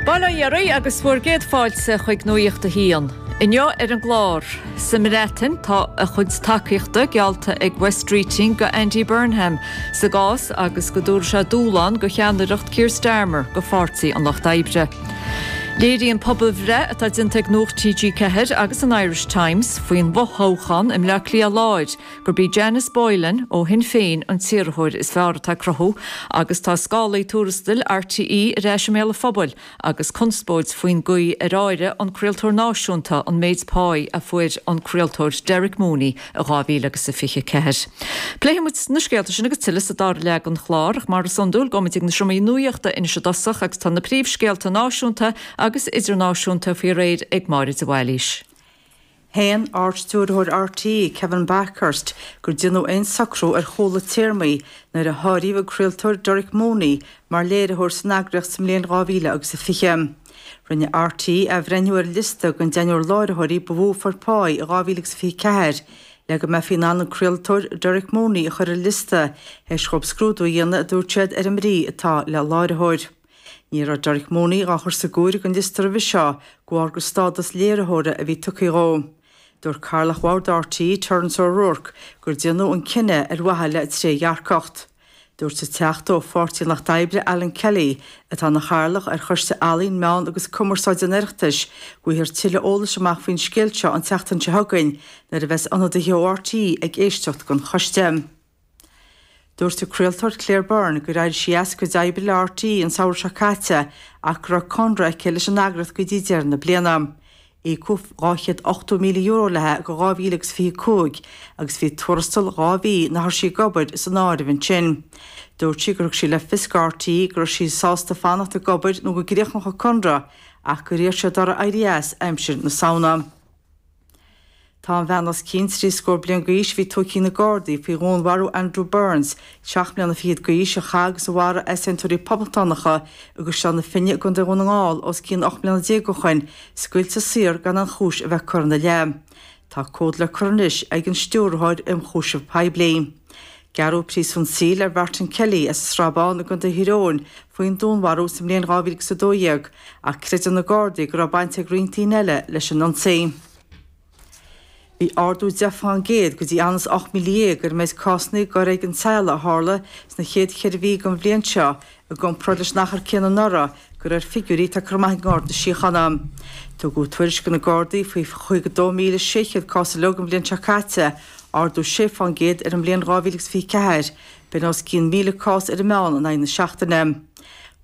Bail ó Dhia oraibh agus bhur gcéad fáilte chuig Nuacht a hAon. Inniu ar an gclár, sa mBreatain tá a chuid tacaíochta geallta ag Wes Streeting go Andy Burnham sa gcás agus go dtabharfaidh sé dúshlán go cheannaireacht Keir Starmer go Pháirtí an Lucht Oibre. Léiríonn pobalbhreith atá déanta ag Nuacht TG4 agus an Irish Times faoin bhfothoghchán i mBleá Cliath Láir gurb í Janice Boylan ó Shinn Féin an t-iarrthóir is fearr atá ag cruthú agus tá scálaí tuarastail RTÉ ar ais i mbéal an phobail agus conspóid faoin gcaoi ar áirigh an craoltóir náisiúnta an méid páí a fuair an craoltóir Derek Mooney i 2024. Pléifidh muid na scéalta sin agus tuilleadh sa dara leath den chlár ach mar is iondúil gabhfaidh muid ag na seomraí nuachta anois i dtosach agus tá na príomhscéalta náisiúnta agus idirnáisiúnta faoi réir ag Máire de Bhailís. Shéan Ard-Stiúrthóir RTÉ, Kevin Bakhurst, gur déanadh aon socrú ar chúla téarmaí nuair a háiríodh an craoltóir Derek Mooney mar léiritheoir san eagraíocht sa mbliain 2020. Rinne RTÉ athbhreithniú ar an liosta den deichniúr láithreoirí ba mhó a fuair pá i 2024 le go mbeifí in ann an craoltóir Derek Mooney a chur ar an liosta théis dhóibh scrúdú a dhéanamh, a dúirt siad, ar an mbrí atá le láithreoir. Ní raibh Derek Mooney dhá chur sa gcomhaireamh don liosta roimhe seo de bharr gur stádas léiritheora a bhí tugtha dhó. Dúirt Cathaoirleach Bhord RTÉ, Terence O'Rourke, gur déanadh an cinneadh ar mhaithe le trédhearcacht. Dúirt an Teachta ó Pháirtí an Lucht Oibre, Alan Kelly, atá ina chathaoirleach ar Choiste Ealaíon, Meán agus Cumarsáide an Oireachtais, go bhfaighfear tuilleadh eolais amach faoin scéal seo an tseachtain seo chugainn nuair a bheas ionadaithe ó RTÉ ag éisteacht don choiste. Dúirt an craoltóir Claire Byrne gur éirigh sí as a cuid oibre le RTÉ an samhradh seo caite ach go raibh conradh aici leis an eagraíocht go dtí deireadh na bliana. Íocadh €280,000 léi go 2025 agus bhí tuarastal 2 mhí nach raibh sí ag obair san áireamh ansin. Dúirt sí gur thug sí le fios go RTÉ go raibh sí sásta fanacht ag obair nó go gcríochnódh a conradh ach gur iarr siad uirthi éirí as aimsir na Samhna. Tá an bhean os cionn 30 scór bliain d'aois a bhí tugtha ag na Gardaí faoi dhúnmharú Andrew Burns, 7 mbliana fichead d'aois, a chaith agus a mharaigh easaontóirí poblachtánacha i gCaisleán na Finne i gContae Dhún na nGall os cionn 18 mbliana ó shoin, scaoilte saor gan aon chúis a bheith curtha ina leith. Tá comhad le cur anois ag an Stiúrthóir Ionchúiseamh Poiblí. Gearradh príosún saoil ar Mhartin Kelly as an Srath Bán i gContae Thír Eoghain faoin dúnmharú sa mbliain 2012 ach creideann na Gardaí go raibh baint ag roinnt daoine eile leis an ionsaí. Bhí ardú 10% go dtí anuas 18,000 ar an méid cásanna i bhforéigean teaghlaigh a tharla sna chéad cheithre mhí den bhliain seo i gcomparáid leis an achar céanna anuraidh, de réir figiúirí atá curtha amach ag an nGarda Síochána. Tugadh tuairisc do na Gardaí faoi 52,600 cás uilig an bhliain seo caite, ardú 6% ar an mbliain 2024, b'in os cionn 1,000 cás ar an meán in aghaidh na seachtaine.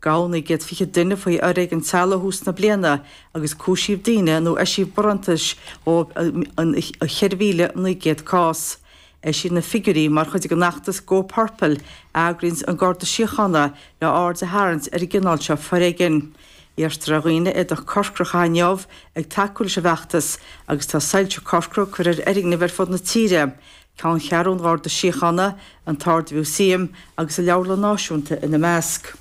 Gabhadh 920 duine faoi fhoréigean teaghlaigh ó thús na bliana agus cúisíodh daoine nó eisíodh barántais dóibh in 4,900 cás. Eisíodh na figiúirí mar chuid den fheachtas Go Purple a eagraíonn an Garda Síochána le aird a tharraingt ar an gcineál seo foréigin. Iarrtar ar dhaoine éadach corcra a chaitheamh inniu ag tacú leis an bhfeachtas agus tá soilse corcra curtha ar fhoirgnimh ar fud na tíre, Ceanncheathrú an Gharda Síochána, an tArd-Mhúsaem agus an Leabharlann Náisiúnta ina measc.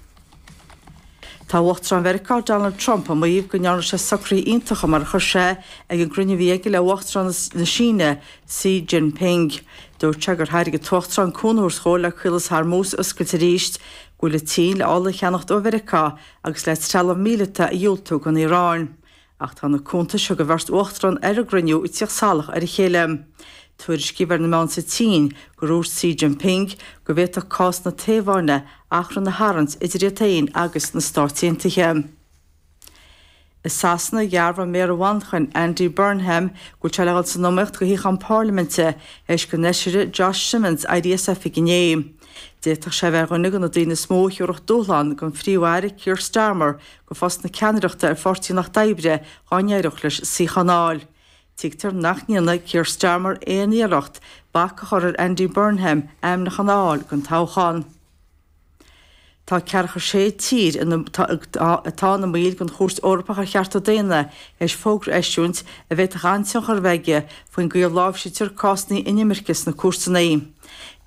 Tá Uachtarán Mheiriceá Donald Trump ag maíomh go ndearna sé socruithe iontacha mar a chuir sé ag an gcruinniú a bhí aige le Uachtarán na Síne Xi Jinping. Dúirt sé gur thairg an tUachtarán cúnamh a thabhairt dhó le Caolas Hormuz a oscailt arís, go bhfuil an tSín le ola a cheannacht ó Mheiriceá agus le trealamh míleata a dhiúltú don Iaráin. Ach tá na cuntais a thug an bheirt uachtarán ar an gcruinniú ag tíocht salach ar a chéile. Tuairiscíodh ar na meáin sa tSín gur dhúirt Xi Jinping go bhféadfadh cás na Téaváine achrann a tharraingt idir iad féin agus na Stáit Aontaithe. I Sasana, dhearbhaigh Méara Mhanchain, Andy Burnham, go bhfuil sé le dhul san iomaíocht do shuíochán parlaiminte théis don fheisire Josh Simmonds éirí as oifig inné. D'fhéadfadh sé a bheith ar dhuine de na daoine is mó a thiúrfadh dúshlán don Phríomh-Aire Keir Starmer do phost na ceannaireachta ar Pháirtí an Lucht Oibre dá n-éireodh leis suíochán a fháil. Tuigtear nach ndéanfaidh Keir Starmer aon iarracht bac a chur ar Andy Burnham ainmniúchán a fháil don toghchán. Tá ceathracha sé tír atá ina mbaill den Chúirt Eorpach ar Chearta Daonna théis fógra a eisiúint a bhféadfadh an-tionchar a bheith aige faoin gcaoi a láimhsítear cásanna inimirce sna cúirteanna.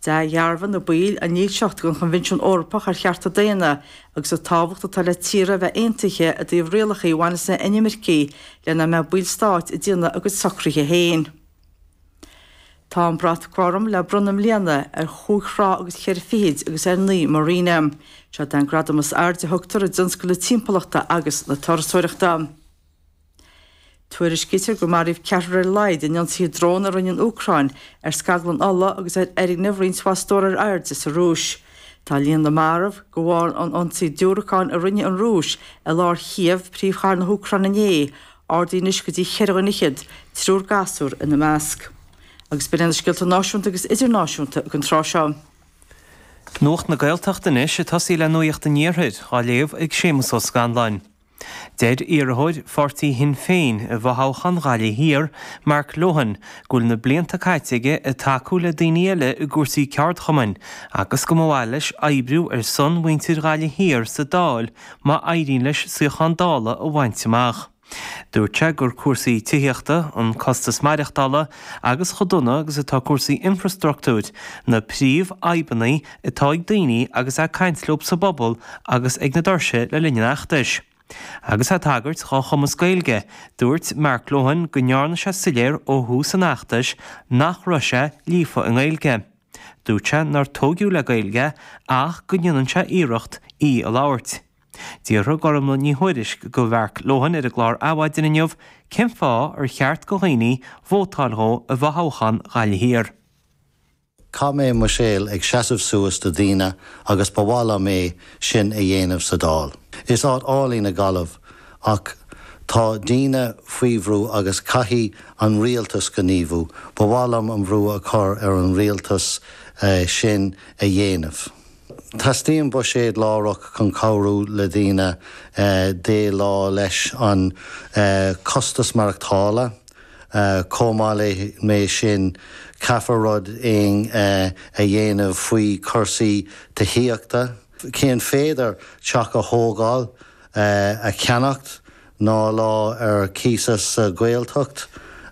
D'athdhearbhaigh na baill a ndílseacht don Choinbhinsiún Eorpach ar Chearta Daonna agus an tábhacht atá le tíortha a bheith aontaithe i dtaobh rialacha a bhaineas le inimircigh le nach mbeadh baill stáit ag déanamh a gcuid socruithe féin. Tá an Brat Gorm le bronnadh i mbliana ar chúig thrá agus cheithre fichid agus ar 9 marina. Seo é an gradam is airde a thugtar i dtionscal na timpeallachta agus na turasóireachta. Tuairiscítear gur maraíodh ceathrar ar a laghad in ionsaithe drón a rinne an Úcráin ar scaglann ola agus ar fhoirgnimh roinnt mhaith stór ar airde sa Rúis. Tá líon na marbh de bharr an ionsaí diúracáin a rinne an Rúis i lár Chív, príomhchathair na hÚcráine inné, ardaithe anois go dtí cheithre dhuine fhichead, triúr gasúr ina measc. Agus b'in iad na scéalta náisiúnta agus idirnáisiúnta don tráth seo. Nuacht na Gaeltachta anois, ag tosaí le Nuacht an Iarthair, á léamh ag Séamus Ó Scanláin. Deir iarrthóir pháirtí Shinn Féin i bhfothoghchán Ghaillimh Thiar, Mark Lohan, go bhfuil na blianta caite aige ag tacú le daoine eile i gcúrsaí ceardchumainn agus go mba mhaith leis oibriú ar son mhuintir Ghaillimh Thiar sa Dáil má éiríonn leis suíochán Dála a bhaint amach. Dúirt sé gur cúrsaí tithíochta, an costas maireachtála agus chomh dona agus atá cúrsaí infreastruchtúir, na príomhfhadhbanna atá ag daoine agus é ag caint leo sa bpobal agus ag na doirse le linn an fheachtais. Agus é ag tagairt dhá chumas Gaeilge, dúirt Mark Lohan go ndearna sé soiléir ó thús an fheachtais nach raibh sé líofa i nGaeilge. Dúirt sé nár tóigeadh le Gaeilge ach go ndéanann sé iarracht í a labhairt. D'fhiafraigh Gormlaith Ní Thuairisg de Mhark Lohan ar an gclár Adhmhaidin inniu cén fáth ar cheart do dhaoine vótáil dhó i bhfothoghchán Ghaillimh Thiar. Chaith mé mo shaol ag seasamh suas do daoine agus ba mhaith liom é sin a dhéanamh sa Dáil. Is áit álainn í Gaillimh ach tá daoine faoi bhrú agus caithfidh an rialtas gníomhú. Ba mhaith liom an bhrú a chur ar an rialtas sin a dhéanamh. Teastaíonn buiséad láithreach chun cabhrú le daoine déileáil leis an costas maireachtála. Chomh maith le sin, caithfear rud éigin a dhéanamh faoi chúrsaí tithíochta. Cén féidir teach a thógáil, a cheannacht ná lá ar cíos sa Ghaeltacht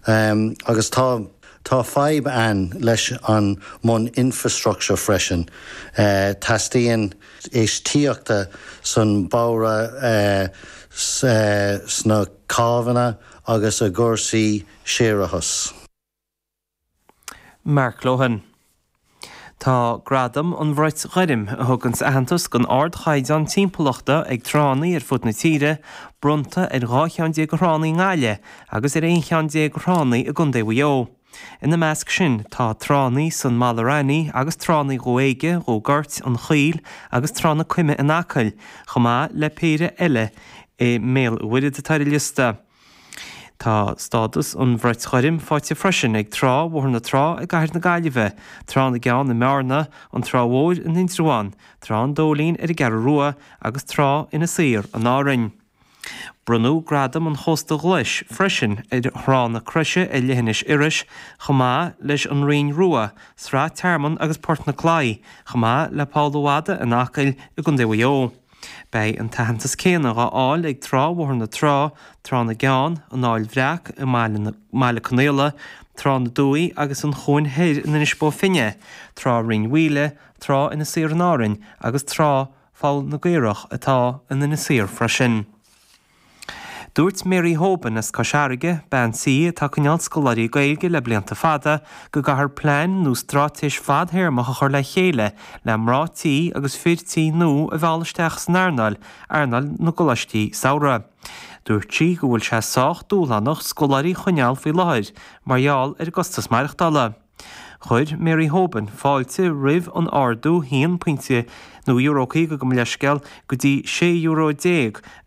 agus tá tá fadhb ann leis an mbun infrastructure freisin. Teastaíonn infheistíochta san bóithre sna cábhanna agus i gcúrsaí séarachais. Mark Lohan. Tá Gradam an Bhrait Ghoirm, a thuganns aitheantas don ardchaighdeán timpeallachta ag tránna ar fud na tíre, bronnta ar 12 cheann de thránna i nGaillimh agus ar 11 cheann de thránna i gContae Mhaigh Eo. Ina measc sin tá tránna san Mallaranny agus tránna Dhumha Éige, Dhumha Goirt, An Choill agus Trá na Coime in Acaill, chomh maith le péire eile i mBéal an Mhuirthead atá ar an liosta. Tá stádas an Bhrait Ghoirm faighte freisin ag Trá Bhóthar na Trá i gCathair na Gaillimhe, Trá na gCeann i mBearna, an Trá Mhór in Indreabhán, Trá an Dóilín ar an gCeathrú Rua agus Trá Inis Oírr in Árainn. Bronnadh Gradam an Chósta Ghlais freisin ar Thrá na Croise ar Leithinis Iorrais chomh maith leis an Rinn Rua, Srath Tearmann agus Port na Claí, chomh maith le Poll a' Mhadaidh in Acaill i gContae Mhaigh Eo. Beidh an t-aitheantas céanna dhá fháil ag Trá Bhóthar na Trá, Trá na gCeann, an Fhaill Bhreac i mBaile Conaola, Trá na Dumhaí agus an Chuain Thoir in Inis Bó Finne, Trá Rinn Mhaoile, Trá Inis Oírr in Árainn agus Trá Pholl na gCaorach atá in Inis Oírr freisin. Dúirt Mary Hoban as Cois Fharraige, bean tí atá ag coinneáil scoláirí Gaeilge le blianta fada, go gcaithfear plean nó straitéis fadthéarmach a chur le chéile le mná tí agus fir tí nua a mhealladh isteach san earnáil, earnáil na gcoláistí samhraidh. Dúirt sí go bhfuil sé sách dúshlánach scoláirí a choinneáil faoi láthair mar gheall ar an gcostas maireachtála. Chuir Mary Hoban fáilte roimh an ardú haon pointe nó euro 50 gabh mo leithscéal go dtí €16 euro a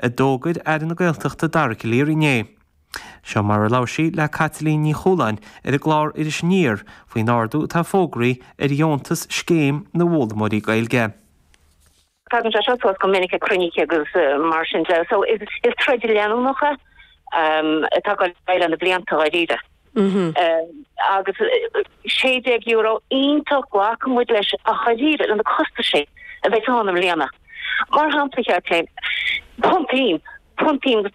d'fhógair Aire na Gaeltachta Dara Calleary inné. Seo mar a labhair sí le Caitlín Ní Chualáin ar an gclár Iris Aniar faoin ardú atá fógraithe ar dheontas Scéim na bhFoghlaimeoirí Gaeilge. Tagann sé seo suas go minic ag cruinnithe agus mar sin de. So is troid leanúnach é atá ag dul ar aghaidh le na blianta dháiríre. Agus €16 iontach glacann muid leis ach dháiríre le na costaisí a bheidh ann i mbliana. Mar shampla, a Chaitlín, punt im, punt im.